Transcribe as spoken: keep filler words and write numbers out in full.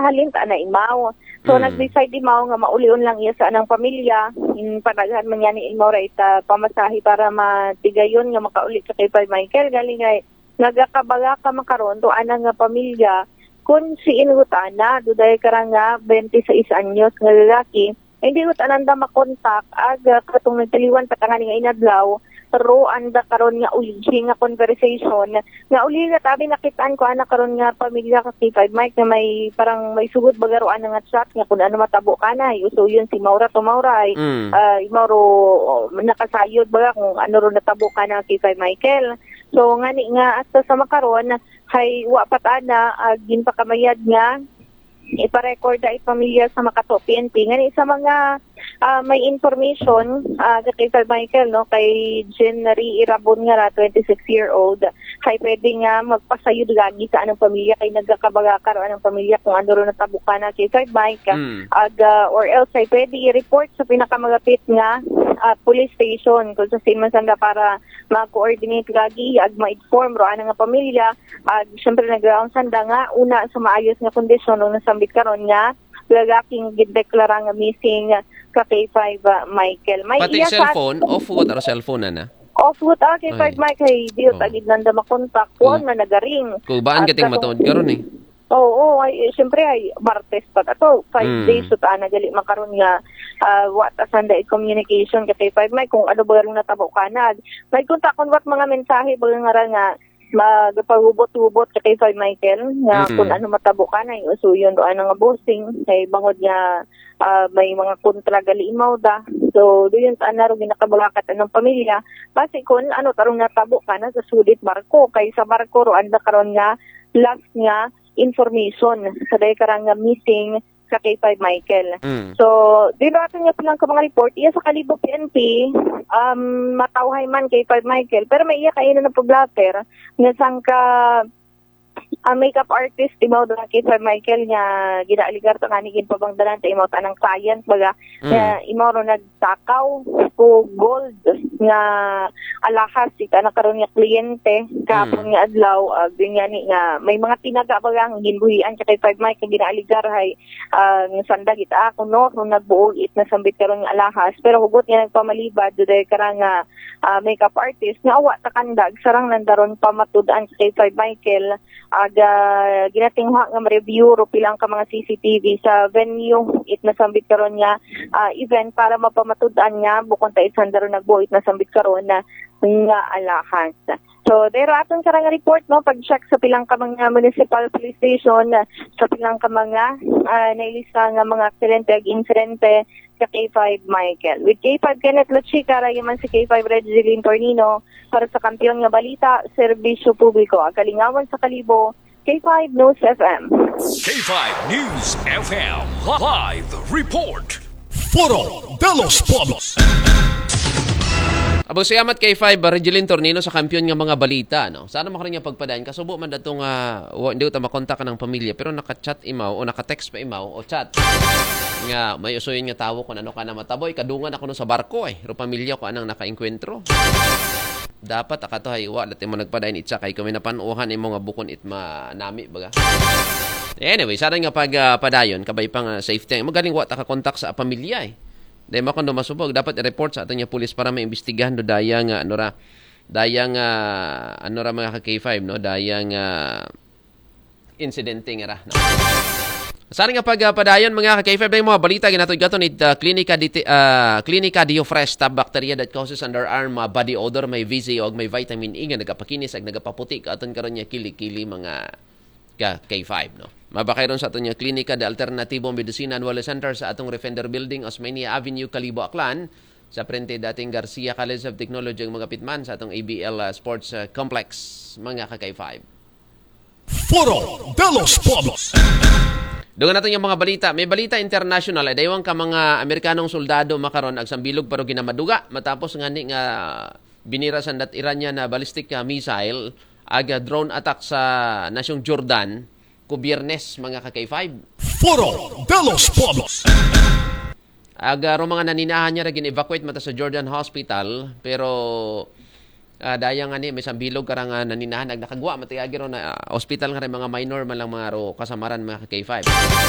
halin ta na imaw. So, nag-decide imaw nga maulion lang iya sa anang pamilya. In padaghan man yan ni imaw ra ita pamasahe para matigayon nga makauli ka kay Five Michael. Galing ay nagakabala ka makaron to anang nga pamilya. Kung si Ingot Ana, duday ka ra nga twenty-six anyos nga lalaki, hindi ko tananda makontak, ag, ah, katong nagtaliwan pa tanga nga inadlaw, ro anda karon nga ulihi nga conversation, nga uli nga tabi nakitaan ko ana karon nga pamilya ka K five Mike nga may parang may sugod baga ro ana nga chat nga kung ano matabo ka na, usuyon si Maura to Maura ay, Mm. ah, Mauro, oh, nakasayod baga kung ano ro natabo ka na K five Michael. So, ngani nga hasta sa makaron, hay wa pa tana, ah, ginpakamayad nga ipa-record ay pamilya sa Makato P N P. Ngani sa mga, ah, may information, ah, kay Sir Michael, no, kay Jean Marie Irabon nga ra, twenty-six year old, kay pwede nga magpasayod lagi sa anang pamilya kay nagkakabagakar o anang pamilya kung ano ro natabukan na kay Sir Mike. Mm. Ag, ah, or else ay pwede i-report sa pinakamalapit nga, ah, police station kung sa man sanda para ma-coordinate lagi ag ma-inform ro anang nga pamilya. Ag syempre naglaong sanda nga una sa maayos nga kondisyon nung nasambit karon nga lalaking gideklara nga missing ka K five, ah, Michael. May Pati iya sa cellphone, off what ang cellphone na na? Off what, ah, K five Ay. Mike, ay di Oh. Tagid nanda makontak. Kuan Oh. man nagaring. Kubaan At kating katong- matuod karon eh. Oo, ay, eh, syempre ay Martes pa ato, five Mm. days so ta nagali makaron nga, ah, wa ta sanda i-communication ka K five Mike kung ano ba rin natabo ka na. May kontakon wat mga mensahe ba nga ra nga magpagubot-ubot ka K five Michael nga Mm. kung ano matabo ka na, yung usuyon do ano nga bossing kay bangod nga, ah, may mga kontra gali imaw da. So, do yun ta na ro ginakabulakat anang pamilya. Basi kung ano tarong natabo ka na sa sulit barko kay sa barko ro anda karon nga last nga information sa day karang nga missing sa K five Michael. Mm. So, di ba ato nga pilang ka mga report, iya sa Kalibo P N P, um, matawhay man K five Michael, pero may iya kayo na nagpa-blotter nga sangka, ah, makeup artist, imaw na K five Michael nga ginaaligar ta nga ni ginpabangdalan ta imaw tanang client, baga, Mm. nga imaw ro nagtakaw ko gold nga alahas ita na karon nga kliyente kahapon Mm. nga adlaw, ah, yun nga ni nga may mga tinaga ba nga ginbuhian ka kay Five Mike nga ginaaligar hay, ah, nga sanda gita ako no kung nagbuog it nasambit karon nga alahas, pero hugot nga nagpamalibad do dahil karang nga, ah, makeup artist nga awa ta kandag sarang nandaron pamatud-an kay Five Michael aga ginatinguha nga ma-review ro pilang ka mga C C T V sa venue it nasambit karon nga, ah, event para mapamatud-an nga bukon ta isanda ro nagbuo it nasambit karon na nga alahas. So, pero aton karang report, no, pag-check sa pilang ka mga municipal police station, sa pilang ka mga, ah, nailista nga mga aksidente ag insidente sa K five Michael. With K five Kenneth Lachica, rayaman si K five Regiline Tornino para sa Kampiyon nga Balita, Serbisyo Publiko, ang kalingawan sa Kalibo, K five News F M. K five News F M live report. Foro de los Pueblos. Abang siyamat kay five, Regeline Tornino sa Kampiyon nga mga Balita, no? Sana makaroon nga pagpadayon. Kasubo man datong, ah, wa, hindi ko ta makontak ng pamilya, pero naka-chat imaw o naka-text pa imaw o chat. Nga, may usuyon nga tawo kung ano ka na mataboy. Kadungan ako no sa barko eh. Ro pamilya ko anang nakainkwentro. Dapat akato hay wa, dati mo nagpadayon itsa kay kami napanuhan imo nga bukon it manami, baga. Anyway, sana nga pag, ah, padayon, kabay pa nga safety. Magaling wa ta ka-contact sa pamilya eh. Dahil mo kung dumasubog, dapat i-report sa aton nga pulis para maimbestigahan do daya nga, ano ra, daya nga, ano ra mga ka K five, no? Daya nga insidente nga ra, no? Sana nga pag, ah, padayon mga ka K five, dahil mga balita, ginatod gato ni, ah, Clinica, Diti, ah, Clinica Diofresh Stop Bacteria that causes underarm, ah, body odor, may V C O, may vitamin E nga nagapakinis ag nagapaputi ka aton karon nga kili-kili mga ka K five, no? Mabakay ron sa aton nga Klinika de Alternativo Medicina Annual Center sa atong Refender Building, Osmeña Avenue, Kalibo, Aklan, sa frente dating Garcia College of Technology, ang mga pitman sa atong A B L, uh, Sports, uh, Complex, mga ka K five. Foro de los Pueblos. Dungan natin yung mga balita. May balita international, ay daywang ka mga Amerikanong soldado makaron agsambilog pero ginamaduga matapos nga ni nga binira sa dat Iranian na ballistic, uh, missile aga drone attack sa nasyong Jordan ku Biyernes, mga ka K five. Foro de los Pueblos. Aga ro mga naninahan niya ra gin-evacuate mata sa Jordan Hospital, pero, ah, daya nga ni may sambilog karang, ah, naninahan ag nakagwa matiyagi ro na, ah, hospital nga rin mga minor man lang mga ro kasamaran mga ka K five.